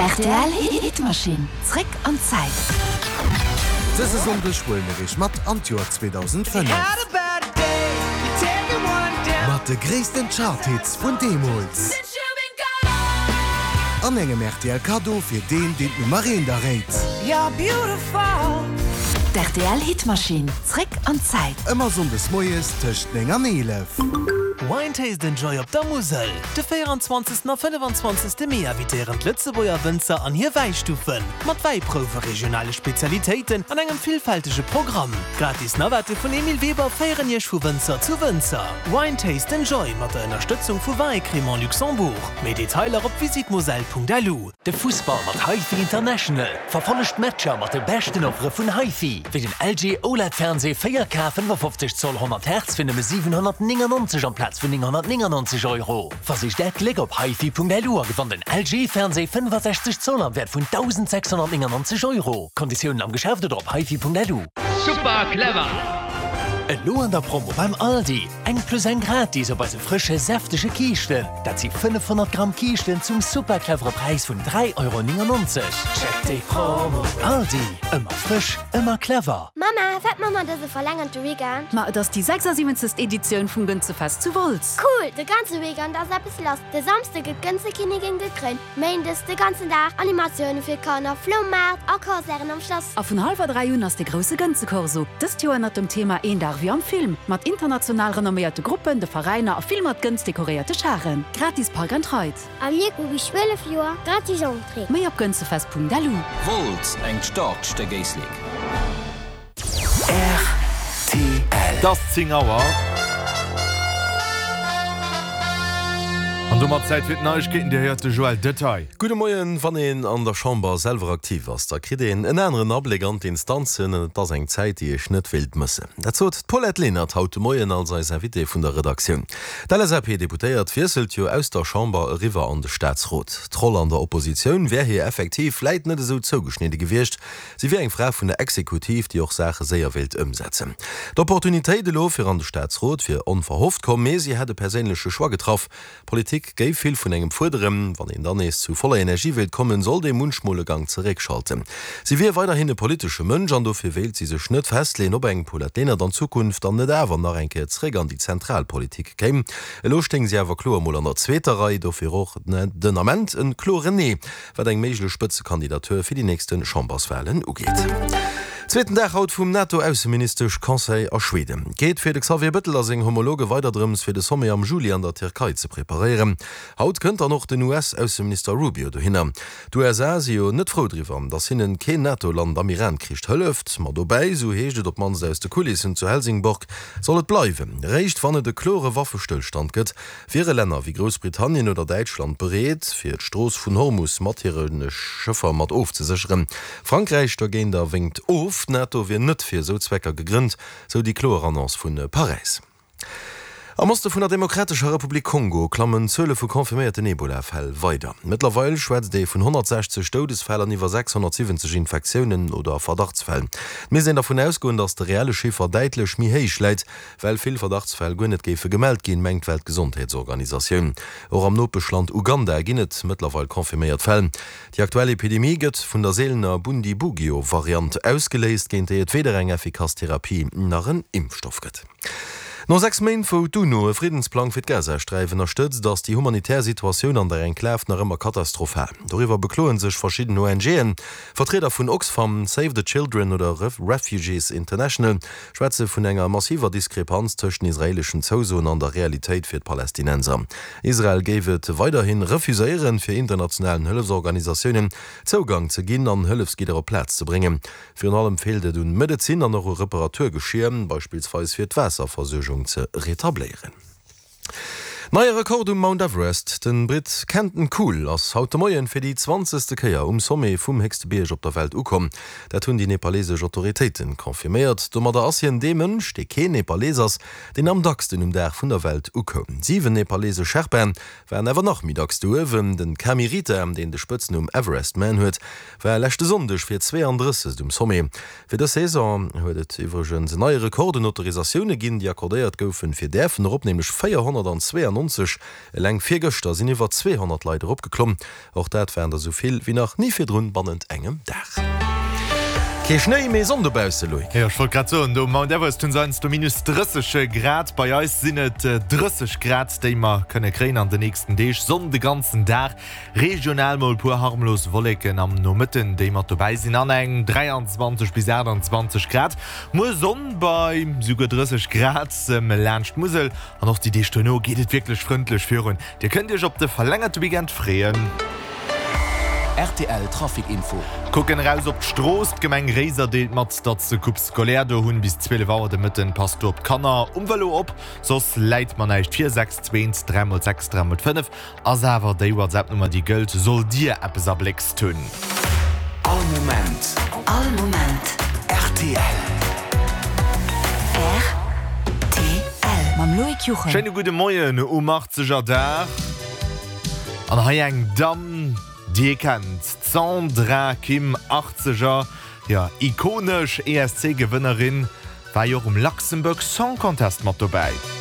Rtl Hitmachine, zréck an d'Zäit. Dëse Sonndeg huele mir iech mat an d'Joer 2005. Mat de gréissten Charthits vun deemools. An engem rtl Kaddo fir deen, deen d'Nummer eent erréit. D'RTL Hitmachine, zréck an d'Zäit. Ëmmer Sonndes moies tëscht 9 an 11. Wine Taste and Joy op der Musel! De 24. a 25. Mee invitéieren d'Lëtzebuerger Wënzer an hir Wäistuffen, mat Wäiprouwe, regionale Spezialitéiten an engem villfältege Programm. Gratis Navette vun Emile Weber féieren Iech vu Wënzer zu Wënzer. Wine Taste and Joy mat der Ënnerstëtzung vu Vin et Crémant Luxembourg. Méi Detailer op visitmoselle.lu. De Fussball mat HiFi International. Verfollegt d'Matcher mat de beschten Offere vun HiFi, wéi den LG OLED Fernseh 4K 55 Zoll 100 Hertz fir nëmme 799 amplaz vun 999 Euro. Versicht äert Gléck op hifi.lu a gewannt en LG Fernseh 65 Zoll am Wäert vun 1.699 Euro. Konditiounen am Geschäft oder op hifi.lu. Super clever! Elo an der Promo beim Aldi, eng plus eng gratis op eise frësche säftege Kiischten. Dat si 500 Gramm Kiischten zum super clevere Präis vun 3,99 Euro. Check déi Promo! Aldi, ëmmer frësch, ëmmer clever! Mamma, wat man mer dëse verlängerte Weekend? Ma et ass déi 76. Editioun vum Gënzefest zu Wolz. Cool, de ganze Weekend ass eppes lass. De Samsde gëtt d'Gënzekinnigin gekréint, Méindes de ganzen Dag Animatioune fir Kanner, Floumaart a Concerten am Schlass. A vun hallwer 3 un ass de grousse Gënzekorso, dëst Joer ënnert dem Thema Een Dag wéi am Film, mat international renomméierte Gruppen, de Veräiner a vill mat Gënz dekoréierte Charen. Gratis Park and Ride. A mir hu bis 12 Joer gratis Entrée. Méi op gënzefest.lu. Wolz, engt staarkt Stéck Éislek. Rtl. Et ass 10 Auer. An domat Zäit fir d'Neiegkeeten. Dir héiert de Joël Detaille. Gudde Moien. Wann een an der Chamber selwer aktiv ass, da kritt een en aneren Abléck an d'Instanzen. An et ass eng Zäit, déi ech net wéilt mëssen. Dat sot d'Paulette Lenert haut de Moien als eis Invitée vun der Redaktioun. D'LSAP-Deputéiert wiesselt jo aus der Chamber eriwwer an de Staatsrot. D'Roll an der Oppositioun wär hir effektiv vläit net esou zougeschnidde gewiescht, Si wier eng Fra vun der Exekutiv, déi och Saache séier wéilt ëmsetzen. D'Opportunitéit elo fir an de Staatsrot wier onverhofft komm, mee si hätt e perséinleche Choix getraff. Politik géif vill vun engem fuerderen. Wann een dann nees zu voller Energie wéilt kommen, sollt ee munchmol e Gank zeréckschalten. Si wier weiderhin e politesche Mënsch an dofir wéilt si sech net festleeën, ob eng Paulette Lenert an Zukunft dann net awer nach eng Kéier zeréck an déi zentral Politik kéim. Elo stéing si awer kloer mol an der zweeter Rei, dofir och den Ament e kloren Nee. wat eng méiglech Spëtzekandidatur fir déi nächste Chamberswalen ugeet. Zweeten Dag haut vum NATO-Ausseministesch-Conseil a Schweden. Geet fir de Xavier Bëttel a seng Homologe weider drëms, fir de Sommet am Juli an der Tierkei ze preparéieren. Haut kënnt dann och den US-Ausseminister Rubio dohinner. D'USA si jo net frou driwwer, datt hinnen keen NATO-Land am Iran-Krich hëlleft. Ma dobäi, esou heescht et op d'mannst aus de Kulissen zu Helsingborg, soll et bleiwen. Eréischt wann et e klore Waffestëllstand gëtt, Wiere Länner wéi Groussbritannien oder Däitschland bereet, fir d'Strooss vun Hormus mat hire Schëffer mat ofzesécheren? Frankräich dogéinter wénkt of. D'NATO wier net fir esou Zwecker gegrënnt, sou déi kloer Annonce vu Paräis. Am Oste vun der Demokratescher Republik Kongo klammen d'Zuele vu confirméierten Ebola-Fäll weider. Mëttlerweil schwätzt ee vun 160 Doudesfäll an iwwer 670 Infektiounen oder Verdachtsfäll. Et misst een dervun ausgoen, datt de reelle Chiffer däitlech méi héich läit. Well vill Verdachtsfäll guer net géife gemellt ginn, mengt d'Weltgesondheetsorganisatioun. Och am Nopeschland Uganda ginn et mëttlerweil confirméiert Fäll. Déi aktuell Epidemie gëtt vun der seelener Bundibugyo-Variant ausgeléist, géint déi et weder eng effikass Therapie nach en Impfstoff gëtt. No 6 Méint, wou d'UNO e Friddensplang fir d'Gazasträif ënnerstëtzt, ass déi humanitär Situatioun an der Enklav nach ëmmer katastrophal. Doriwwer bekloe sech verschidden ONGen. Vertrieder vun Oxfam, Save the Children oder Refugees International schwätze vun enger massiver Diskrepanz tëscht den israeeleschen Zousoen an der Realitéit fir d'Palästinenser. Israel géif et weiderhi refuséieren, fir internationalen Hëllefsorganisatiounen Zougang ze ginn an Hëllefsgidder op d'Plaz ze bréngen. Virun allem feelt et un Medezin an och u Reparaturgeschier, beispillsweis fir d'Waasserversuergung ze retabléieren. Neie Rekord um Mount Everest, De Britt Kenton Cool ass haut de Moien fir déi zwanzegste Kéier um Sommet vum héchste Bierg op der Welt ukomm. Dat hunn déi nepalesesch Autoritéite confirméiert. Domadder ass hien dee Mënsch, dee keen Nepalees ass, deen am dacksten um Dag vun der Welt ukoum. 7 nepalesesch Sherpaen waren awer nach méi dacks do uewen. Den Kami Rita, deen de Spëtznumm Everest Man huet, war leschte Sonndeg fir 32. um Sommet. Fir dës Saison huet et iwwregens en neie Rekord un Autorisatioune ginn, déi accordéiert goufen, fir däerfen erop, nämlech 492. 194. Eleng virgëschter sinn iwwer 200 Leit eropgeklomm. Och dat waren der sou vill wéi nach ni virdrun bannent engem Dag. Kee Schnéi, mee Sonn dobausse, Loïc. Jo, ech wollt grad soen, do um Mount Everest hunn se heiansdo minus 30 Grad. Bei eis sinn et 30 Grad, déi mer kënne kréien an den nächsten Deeg. Sonn de ganzen Dag, regional mol puer harmlos Wolleken am Nomëtten, déi mat dobäi sinn, an eng 23 bis 28 Grad. Muer Sonn bei souguer 30 Grad laanscht d'Musel an och déi Deeg duerno geet et wierklech frëndlech virun. Dir kënnt Iech op de verlängerte Weekend freeën. Rtl Trafic Info. Kucken eraus op d'Strooss. D'Gemeng Réiser deelt mat, datt se Coupe scolaire do hunn. Bis 12 Auer de Mëtten. Passt do op d'Kanner um Vëlo op, soss läit mer näischt vir. 6 2 3 mol 6 3 mol 5 ass awer déi WhatsApp-Nummer déi gëllt, sollt Dir eppes erbléckst hunn. All Moment. All Moment. Rtl. Rtl. Mam Loïc Juchem. Schéine gudde Moien um 80er Dag. An hei eng Damm, déi ee kennt, d'Sandra Kim, 80er, jo, ikonesch ESC-Gewënnerin, war jo och um Luxembourg Song Contest mat dobäi.